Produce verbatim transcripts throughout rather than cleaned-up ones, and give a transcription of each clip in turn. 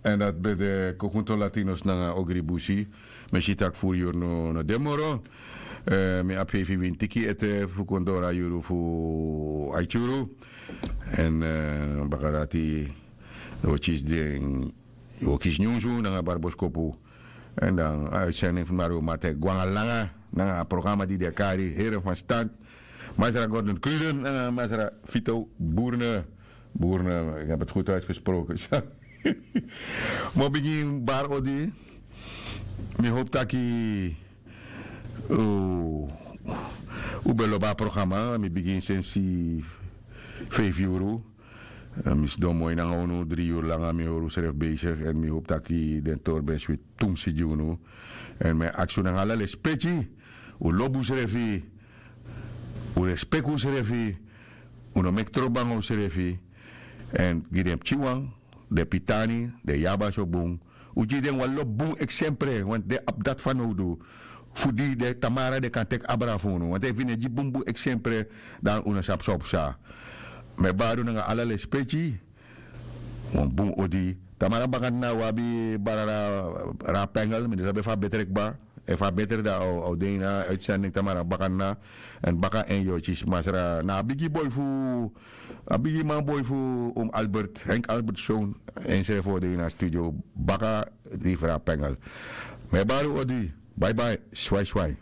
Èn dati ben de Kokunto Latinos nanga Ogri Busi. Mi e si tak' furu yuru no de moro. Eh, mi abi feifi wini tiki ete fu kon doro a yuru fu aiti yuru. Èn, eh, baka dati wi o kisi den, wi o kisi nyunsu nanga bari boskopu. Èn dan a uitzending fu Mario Martin e go nanga langa nanga a programa di den e kari Heren van Stand. Masra Gordon Kruden nanga Masra Vito Boerne. Boerne, ik heb het goed uitgesproken. Mi o bigin bari odi. Mi hopu taki, uh, un ben lobi a programa. Mi bigin sensi feifi yuru. Eh, mi sidon moi nanga unu dri yuru langa, mi hori unsrefi besigi. Èn mi hopu taki den tori ben switi tumsi gi unu. Èn mi e aksi un nanga ala lespeki, un lobi unsrefi, un respeki unsrefi, un no meki trobi nanga unsrefi. Èn gi den pikinwan, den pitani, den yabas o bun. Un gi den wan lobi bun eksempre, want den abi dati fanowdu. Fu di den tamara den kan teki abra fu unu. Want efu yu no e gi bunbun eksempre, dan un no sabi san o psa. Mi e bari un nanga ala lespeki. Wan bun odi. Tamara baka na un abi brada Rapengel, mi no sabi efu a betre kba. Efu a betre dan a o, a o de ini a uitzending tamara baka na. Èn baka en yu o kisi Masra na a bigi boi fu, a bigi man boi fu oom Albert, Henk Albertson, ensrefi o de ini a studio baka di fu Rapengel. Mi e bari un odi. Bye bye. Swai swai.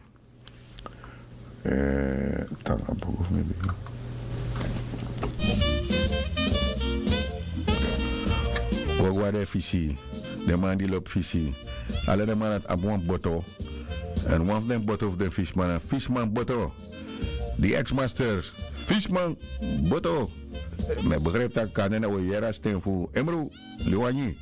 Eh, tanga bogo fu mi bigi. Wi o go na den fisi. Den man di lobi fisi. Ala den man dati abi wan boto. Èn wan fu den boto fu den fisiman na Fisiman Boto. Di ex-master Fisiman Boto. Mi e begrijp taki kande na wi o yere a sten fu Emro Liwanyi.